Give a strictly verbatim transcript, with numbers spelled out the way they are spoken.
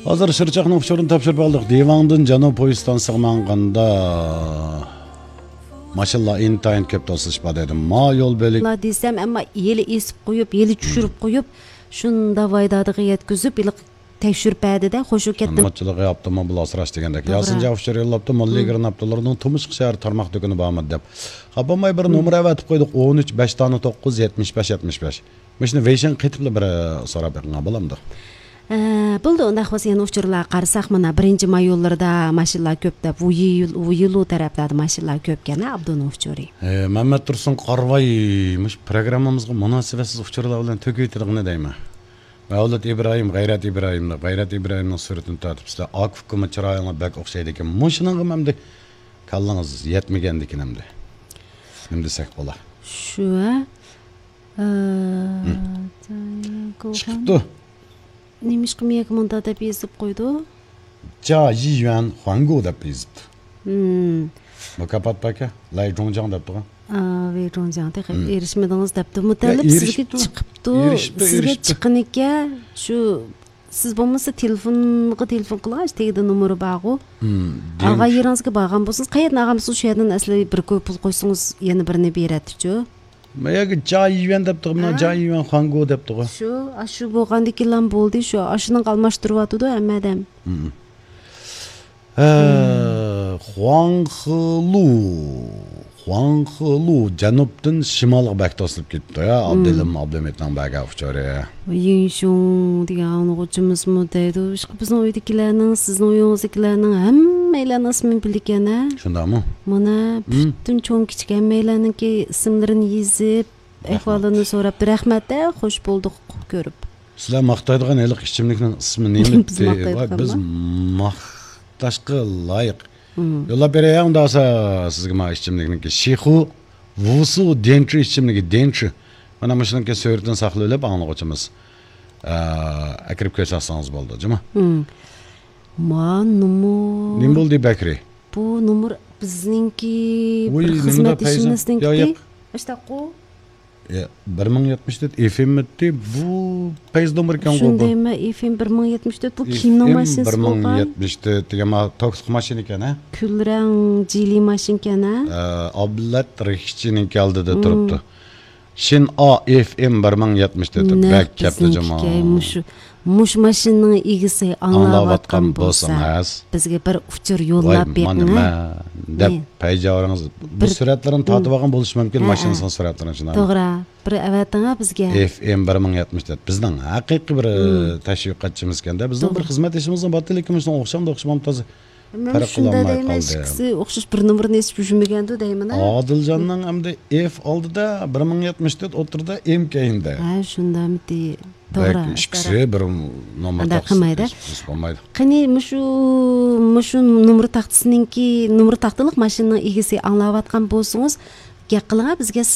ھازىر شىرچاقنىڭ ئۇچۇرىنى تاپشۇرۇپ ئالدۇق. دىۋاڭدىن جەنۇب پويىز ئىستانسىسىغا ماڭغاندا ماشىنىلار ئىنتايىن كۆپ توسۇلۇش بار دەيدۇ. ما يول بۆلىكى. دېسەم، ئەمما ھېلى ئېسىپ قويۇپ، ھېلى چۈشۈرۈپ قويۇپ، شۇنداق ۋايدادىغا يەتكۈزۈپ، ھېلىقى تەكشۈرۈپ بەردى-دە، خۇشۇ كەتتىم. مۇنۇچىلىقى ئاپتوموبىل ئاسراش دېگەندەك. توغرا. ياسىن جاۋۇش يوللاپتۇ، مىللىي گىرناپتىلارنىڭ تۇمشۇق شەھەر تارماق دۇكىنى بارمۇ دەپ. خاپا بولماي بىر نومۇر ئەۋەتىپ قويدۇق، ئون ئۈچ، بەش دانە توققۇز، يەتمىش بەش، يەتمىش بەش. مۇشۇنى ۋېيشىنغا قېتىپلا بىر سوراپ بېقىڭا بولامدۇ؟ ئە، بولدى، ئۇنداق بولسا يەنە ئۇچۇرلارغا قارىساق، مانا، بىرىنچى مايونلىرىدا ماشىنىلار كۆپ دەپ، ۋۇيى-، ۋۇيىلۇ تەرەپلەردە ماشىنىلار كۆپكەن، ھە، ئابدۇنىڭ ئۇچۇرى. ئە، مەمەت تۇرسۇن قارىۋاي، مۇشۇ پروگراممىمىزغا مۇناسىۋەتسىز ئۇچۇرلار بىلەن تۆكۈۋېتىدىغىنى دەيمەن. مەۋلۇت ئىبراھىم، غەيرەت ئىبراھىمنى، غەيرەت ئىبراھىمنىڭ سۈرىتىنى تارتىپ، سىلەر ئاكا ئۇكىمۇ چىرايىڭلار بەك ئوخشايدىكەن. مۇشۇنىڭغىمۇ ئەمدى كاللىڭىز يەتمىگەندىكىن ئەمدى. نېمە دېسەك بولا؟ شۇ، ھە؟ ئە، ھىم. جايىڭ چىقىپتۇ. نېمىشقا مېيەگە مۇنداق دەپ يېزىپ قويدۇ؟ جا يىيۈەن خۇاڭگۇ دەپ يېزىپتۇ. ھىم. مۇكاپات باركەن، لاي جۇڭجاڭ دەپتىغۇ. ئا، ۋېي جۇڭجاڭ تېخى ھىم. ئېرىشمىدىڭىز دەپتۇ. يا، مۇتەللىپ سىزگە ئېرىشىپتۇ. چىقىپتۇ. ئېرىشىپتۇ، سىزگە ئېرىشىپتۇ. چىققىنىكەن، شۇ، سىز بولمىسا تېلېفونغا تېلېفون قىلغاچ، تېگىدە نومۇرى بارغۇ. ھىم، ئالغان يېرىڭىزگە بارغان بولسىڭىز، قەيەردىن ئالغان بولسىڭىز، شۇ يەردىن ئەسلى بىر كوي پۇل قويسىڭىز، يەنە بىرنى بېرەتتىچۇ. ماياگا جا يۈەن دەپتىغۇ، مانا ھە؟ جا يۈەن خۇاڭگۇ دەپتىغۇ. شۇ، ئاشۇ بولغاندىكىنلا بولدى، شۇ، ئاشۇنىڭغا ئالماشتۇرۇۋاتىدۇ ھەممە ئادەم. ھىم. ھە، ھىم. خۇاڭخېلۇ، خۇاڭخېلۇ جەنۇبتىن شىمالغا بەك توسۇلۇپ كېتىپتۇ، يا، ھىم. ئابدۇلىم ئابلىمىتنىڭ بەرگەن ئۇچۇرى. يىڭشۇڭ دېگەن ئاڭلىغۇچىمىزمۇ دەيدۇ، ئىشقىلىپ بىزنىڭ ئۆيدىكىلەرنىڭ، سىزنىڭ ئۆيىڭىزدىكىلەرنىڭ ھەممەيلەننىڭ ئىسمىنى بىلىدىكەن، ھە؟ شۇنداقمۇ؟ مانا، ھىم. پۈتۈن چوڭ كىچىك ھەممەيلەننىڭكى ئىسىملىرىنى يېزىپ، رەھمەت. ئەھۋالىنى سوراپتۇ. رەھمەت، ھە، خوش بولدۇق كۆرۈپ. سىلەر ماختايدىغان ھېلىقى ئىچىملىكنىڭ ئىسمى نېمە؟ بىز ماختايدىغانما؟ بىز ماختاشقا لايىق. مم. يوللاپ بېرەي، ئۇنداق بولسا سىزگە ما ئىچىملىكنىڭكى شىخۇ ۋۇسۇ دېنچۇ ئىچىملىكى، دېنچۇ. مانا مۇشۇنىڭكى سۈرىتىنى ساقلىۋېلىپ، ئاڭلىغۇچىمىز، ئە، ئەكىرىپ كۆرسەتسىڭىز بولىدۇ، جۇمۇ. مم. ما نومۇر. نېمە بولدى، بەكرى؟ بۇ نومۇر بىزنىڭكى ۋۇي، بىر نېمىدا پەيزا؟ خىزمەتدىشىمىزنىڭكى. يا، ياق. ئاشتاققۇ. يا، بىر مىڭ يەتمىش تۆت ئېف ئېم ئىدى، بۇ پەيزا نومۇر ئىكەنغۇ بۇ. شۇنداق دەيمەن، ئېف ئېم بىر مىڭ يەتمىش تۆت، بۇ كىنو ماشىنىسى بولغان. ئېف ئېم بىر مىڭ يەتمىش تۆت دېگەن ما توكلۇق ماشىنا ئىكەن، ھە؟ كۈلرەڭ جىلى ماشىنا ئىكەن، ھە؟ ئە، ئابلەت رىخچىنىڭكى ئالدىدا تۇرۇپتۇ. شىن ئا ئېف ئېم بىر مىڭ يەتمىش تۆت، نەق بەك كەپتۇ جۇما. بىزنىڭكىكەن، مۇشۇ، مۇشۇ ماشىنىنىڭ ئىگىسى ئاڭلاۋاتقان بولسا، بىزگە بىر ئۇچۇر يوللاپ بېقىڭ، ھە؟ دەپ، پەيجاۋرىڭىز بۇ سۈرەتلىرىنى تارتىۋالغان بولۇشى مۇمكىن، ماشىنىسىنىڭ سۈرەتلىرىنى شۇنداق. توغرا، بىر ئەۋەتىڭ، ھە، بىزگە. ئېف ئېم بىر مىڭ يەتمىش تۆت، بىزنىڭ ھەقىقىي بىر، ئە، تەشۋىقاتچىمىزكەن-دە، بىزنىڭ بىر خىزمەتدىشىمىزنىڭ بارتى، لېكىن مۇشۇنىڭغا ئوخشامدۇ، ئوخشىمامدۇ، تازا پەرق قىلالماي قالدى. ئىككىسى ئوخشاش بىر نومۇرنى ئېسىپ يۈرمىگەندۇ دەيمەن، ھە؟ ئادىلجاننىڭ ئەمدى ئېف ئالدىدا بىر مىڭ يەتمىش تۆت، ئوتتۇرىدا ئېم كەينىدە. ھە، شۇنداقمىتى؟ توغرا، بەك ئىككىسى بىر نومۇر تاختىسىدا بولمايدۇ. قېنى، مۇشۇ، مۇشۇ نومۇر تاختىسىنىڭكى، نومۇر تاختىلىق ماشىنىنىڭ ئىگىسى ئاڭلاۋاتقان بولسىڭىز، گەپ قىلىڭا بىزگە،